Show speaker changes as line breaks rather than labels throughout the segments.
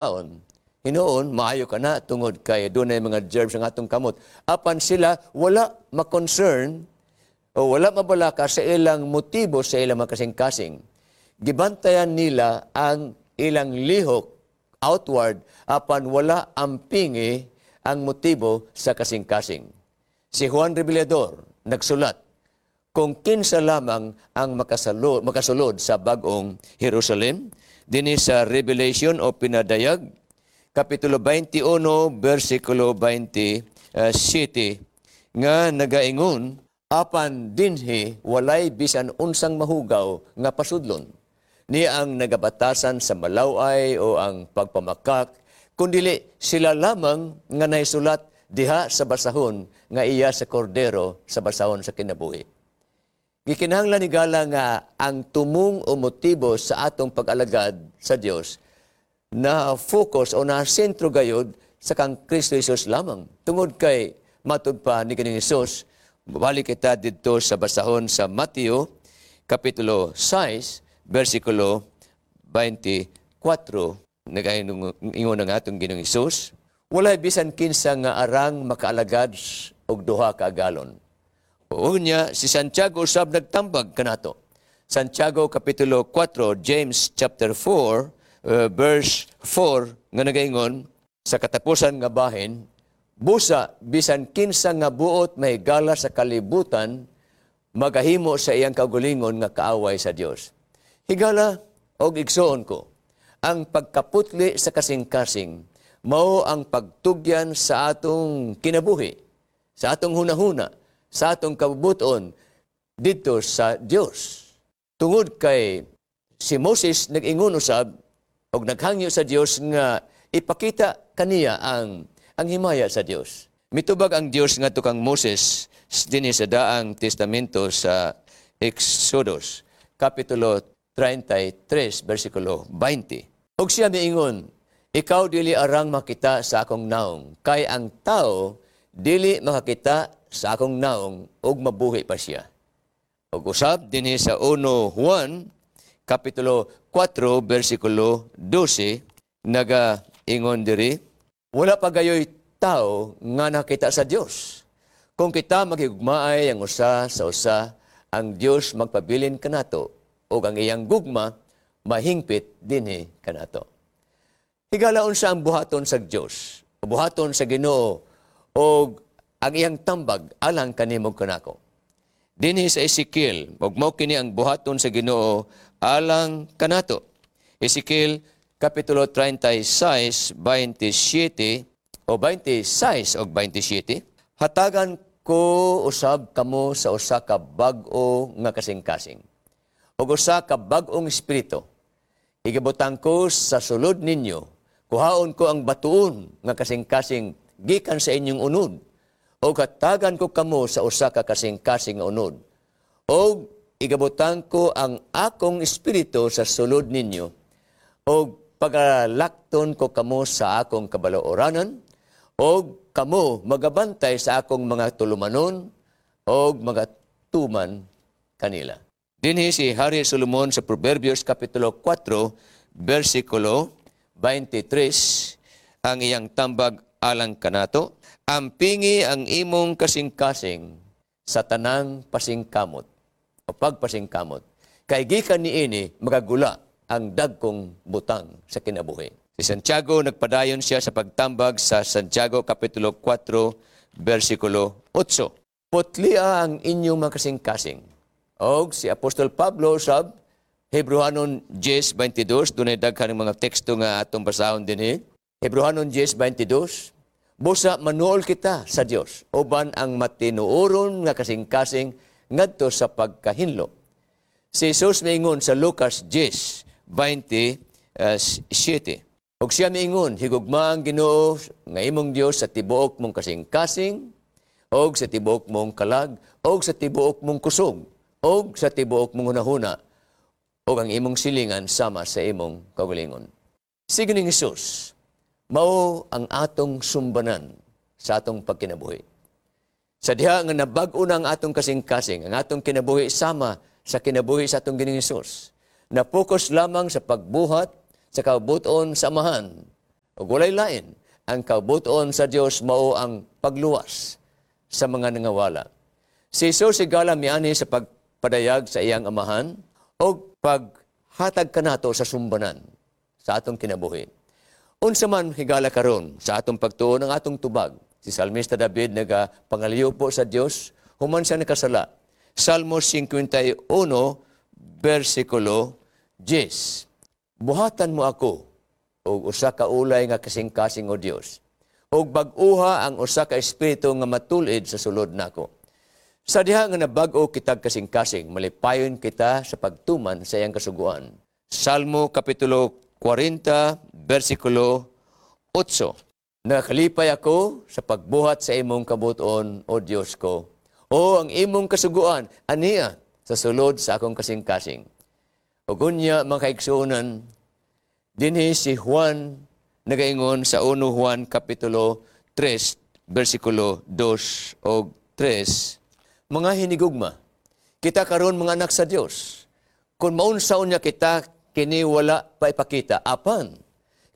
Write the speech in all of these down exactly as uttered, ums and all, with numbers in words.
Aon, hinuon, maayo ka na tungod kay dunay mga germs ang atong kamot. Apan sila wala ma-concern o wala mabalaka sa ilang motibo sa ilang mga kasing-kasing. Gibantayan nila ang ilang lihok outward apan wala ampingi ang motibo sa kasing-kasing. Si Juan Revelador nagsulat kung kinsa lamang ang makasalo, makasulod sa bagong Jerusalem dinhi sa Revelation o Pinadayag kapitulo twenty-one bersikulo twenty-seven nga nagaingon, "Apan dinhi walay bisan unsang mahugaw nga pasudlon ni ang nagabatasan sa malaway o ang pagpamakak, kundili sila lamang nga naisulat diha sa basahon nga iya sa Kordero sa basahon sa kinabuhi." Gikinahanglan, higala, nga ang tumong o motibo sa atong pag-alagad sa Dios na focus o na sentro gayod sa kang Kristo Jesus lamang. Tungod kay matud pa ni Ginoong Hesus, balik kita didto sa basahon sa Mateo kapitulo six versikulo twenty-four, nagaingon ang atong Ginoong Hesus, "Walay bisan kinsa nga arang makaalagad og duha ka agalon." Unya, si Santiago usab nagtambag kanato. Santiago kapitulo four, James chapter four, uh, verse four nga nagaingon sa katapusan nga bahin, "Busa bisan kinsa nga buot mahigala sa kalibutan magahimo sa iyang kaugalingon nga kaaway sa Dios." Higala og igsuon ko, ang pagkaputli sa kasing-kasing mao ang pagtugyan sa atong kinabuhi, sa atong hunahuna, sa atong kabubuton didto sa Dios. Tungod kay si Moses nag-ingon usab og naghangyo sa Dios nga ipakita kaniya ang ang himaya sa Dios. Mitubag ang Dios ngadto kang Moses dinhi sa Daang Testamento sa Exodus kapitulo thirty-three bersikulo twenty. Og siya miingon, "Ikaw dili arang makita sa akong naong, kay ang tao dili makakita sa akong naong ug mabuhi pa siya." Ug usab dinhi sa one Juan kapitulo four bersikulo twelve naga ingon diri, "Wala pa gayoy tao nga nakita sa Dios. Kung kita maghigugmaay ang usa sa usa, ang Dios magpabilin kanato ug ang iyang gugma mahingpit dinhi kanato." Higala, unsa ang buhaton sa Dios, buhaton sa Ginoo og ang iyang tambag alang kanimo kanako? Dinhi sa Ezekiel, ug mao kini ang buhaton sa Ginoo alang kanato. Ezekiel kapitulo thirty-six twenty-seven o twenty-six og twenty-seven, "Hatagan ko usab kamo sa usa ka bag-o nga kasing-kasing ug usa ka bag-ong espiritu. Igabutang ko sa sulod ninyo. Kuhaon ko ang batuon nga kasing-kasing gikan sa inyong unod ug hatagan ko kamo sa usa ka kasing-kasing nga unod. Og igabutang ko ang akong espiritu sa sulod ninyo ug pagalakton ko kamo sa akong kabalooranan ug kamo magabantay sa akong mga tulumanon ug magatuman kanila." Dinhi si Hari Solomon sa Proverbios kapitulo four versikulo twenty-three ang iyang tambag alang kanato, "Ampingi ang imong kasing-kasing sa tanang pasingkamot o pagpasingkamot. Kay gikan niini magagula ang dagkong butang sa kinabuhi." Si Santiago, nagpadayon siya sa pagtambag sa Santiago Kapitulo four, versikulo eight. "Putlia ang inyong mga kasing-kasing." Og si Apostol Pablo sab, Hebreohanon ten twenty-two, dunay daghan ng mga teksto nga atong basahon dinhi. Hebreohanon ten twenty-two, "Busa manuol kita sa Dios uban ang matinuoron nga kasing-kasing ngadto sa pagkahinlo." Si Jesus miingon sa Lucas ten twenty-seven. Og siya miingon, "Higugma ang Ginoo nga imong Dios sa tibuok mong kasing-kasing, og sa tibuok mong kalag, og sa tibuok mong kusog, og sa tibuok mong hunahuna, og ang imong silingan sama sa imong kaugalingon." Si Ginoong Hesus, mao ang atong sumbanan sa atong pagkinabuhi. Sa diha nga nabag-o na ang atong kasing-kasing, ang atong kinabuhi sama sa kinabuhi sa atong Ginoong Hesus. Na focus lamang sa pagbuhat sa kabuton sa Amahan. Ug walay lain, ang kabut-on sa Dios mao ang pagluwas sa mga nangawala. Si Jesus higala miani sa pagpadayag sa iyang amahan og paghatag kanato sa sumbanan sa atong kinabuhi. Unsa man higala karon sa atong pagtuo ng atong tubag. Si Salmista David nagapangaliyo po sa Dios human siya nakasala. Salmo singkwenta y uno versikulo diyes. "Buhatan mo ako og usa ka ulay nga kasing-kasing, o Dios, ug bag-uha ang usa ka espiritu nga matul-id sa sulod nako." Sa diha nga nabag-o kitag kasing-kasing, malipayon kita sa pagtuman sa iyang kasuguan. Salmo Kapitulo kwarenta, versikulo otso. "Nakalipay ako sa pagbuhat sa imong kabuton, O Dios ko. O ang imong kasuguan, ania sa sulod sa akong kasing-kasing." Ug unya, mga kaigsuonan, dinhi si Juan nagaingon sa Unong Juan Kapitulo tres, versikulo dos og tres, "Mga hinigugma, kita karon mga anak sa Dios. Kung maunsa unya kita, kini wala pa ipakita. Apan,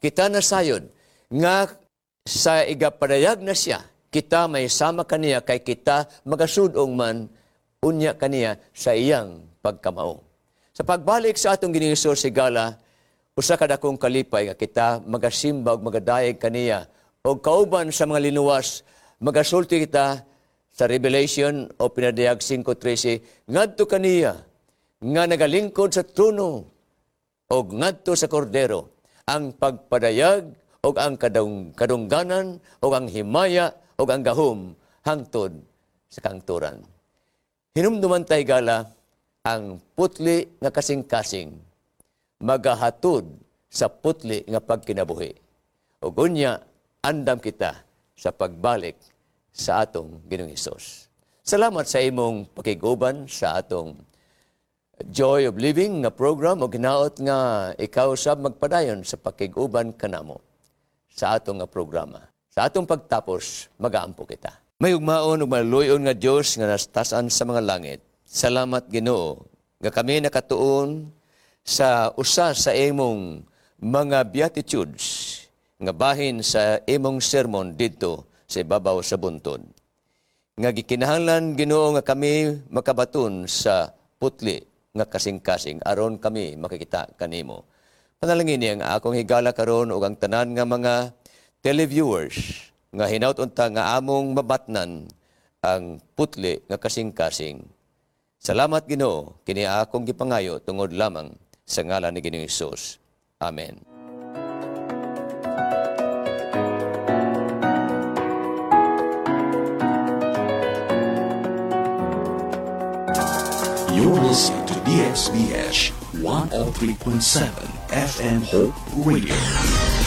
kita nasayod nga sa igapadayag na siya, kita may sama kaniya kay kita magasud-ong man unya kaniya sa iyang pagkamao." Sa pagbalik sa atong Ginoong Hesus higala, usa ka dakong kalipay nga kita magasimba ug magadayeg kaniya og kauban sa mga linuwas, magasulti kita sa Revelation o Pinadayag singko trese, "Ngadto kaniya nga nagalingkod sa trono og ngadto sa Kordero ang pagpadayag og ang kadung, kadungganan og ang himaya og ang gahom hangtod sa kangturan." Hinumduman tay gala, ang putli nga kasing-kasing magahatod sa putli nga pagkinabuhi. Ug unya, andam kita sa pagbalik sa atong Ginoong Hesus. Salamat sa imong pakiguban sa atong Joy of Living nga program o ginaot nga ikaw sab magpadayon sa pakiguban kanamo sa atong nga programa. Sa atong pagtapos, magaampo kita. May ugmaon ug maluyon nga Dios nga nastasan sa mga langit. Salamat, Ginoo, nga kami nakatuon sa usa sa imong mga beatitudes nga bahin sa imong sermon didto sa ibabaw sa buntod. Nga gikinahanglan, Ginoo, nga kami makabaton sa putli nga kasing-kasing aron kami makikita kanimo. Panalangin ang akong higala karon ug ang tanan nga mga televiewers nga hinaut unta nga among mabatnan ang putli nga kasing-kasing. Salamat, Ginoo, kini akong gipangayo tungod lamang sa ngalan ni Ginoong Hesus. Amen.
You're listening to D S B H one oh three point seven F M Hope Radio.